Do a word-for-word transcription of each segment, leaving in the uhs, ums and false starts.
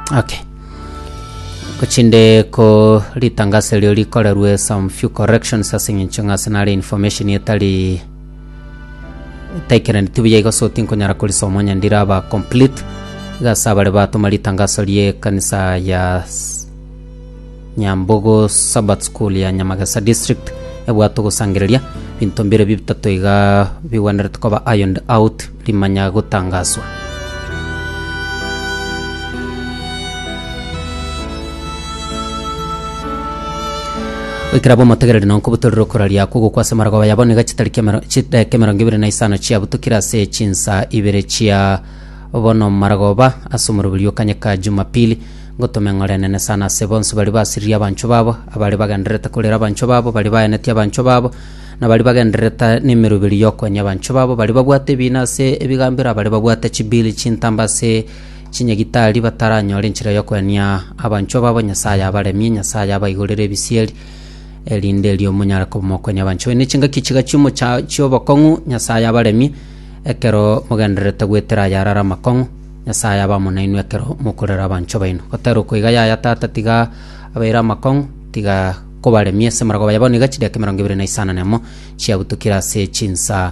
Okay. Gochinde ko ritangaso erio rikorerwe some few corrections ase eng'encho ng'a ase nare information etari etaikerani buya igo so tinkonyara korisoma onye ndiraba complete iga ase abare batoma ritangaso rie ekanisa ya s- Nyambogo Sabbath School ya Nyamagesa District ebwate ogosangereria binto mbire bitato iga bigwenerete koba ironed out rimanya gotangaswa. Goikera bomotegereri nonko butorire okoraria akwo gokwa ase marogoba yabo niga chitariki emero- chidakika emerongo ibere na isano chiabutukire ase chinsa ibere chia bono marogoba ase omoroberi okanyeka Jumapili ngotoma eng'ora enene sana ase bonsi baria basiririe abanchwa babo abare bagendererete korera abanchwa babo baria baenetie abanchwa babo na baria bagendererete na emeroberi ya okoenia abanchwa babo baria babwate ebina ase ebigambero abaria babwate chibili chintambe ase chinyagitari bataranyora enchera ya okoenia abanchwa babo Nyasaye abaremie Nyasaye abaigorere ebisieri erinde erio monyare koba mokoenia abanchwa baino chingaki chiga chiomocha chiobokong'u Nyasaye abaremie ekero mogendererete goetera ayarara amakong'u Nyasaye abe amo nainwe ekero mokorera abanchwa baino. Gotera oko iga yaya tata tiga abeire amakong'u tiga kobaremia ase amarogoba yabo niga chidakika emerongo ebere na isano na emo chiabutukire ase chinsa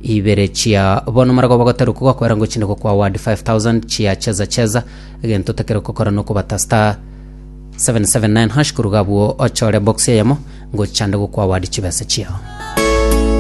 ibere chia bono marogoba gotera oko gokoera ngochinde gokwa ward five thousand chia cheza cheza egento otakere gokora nokobata star seven seven nine hash koruga abwo ochore box eyemo ngochande gokwa ward chibesa chiao.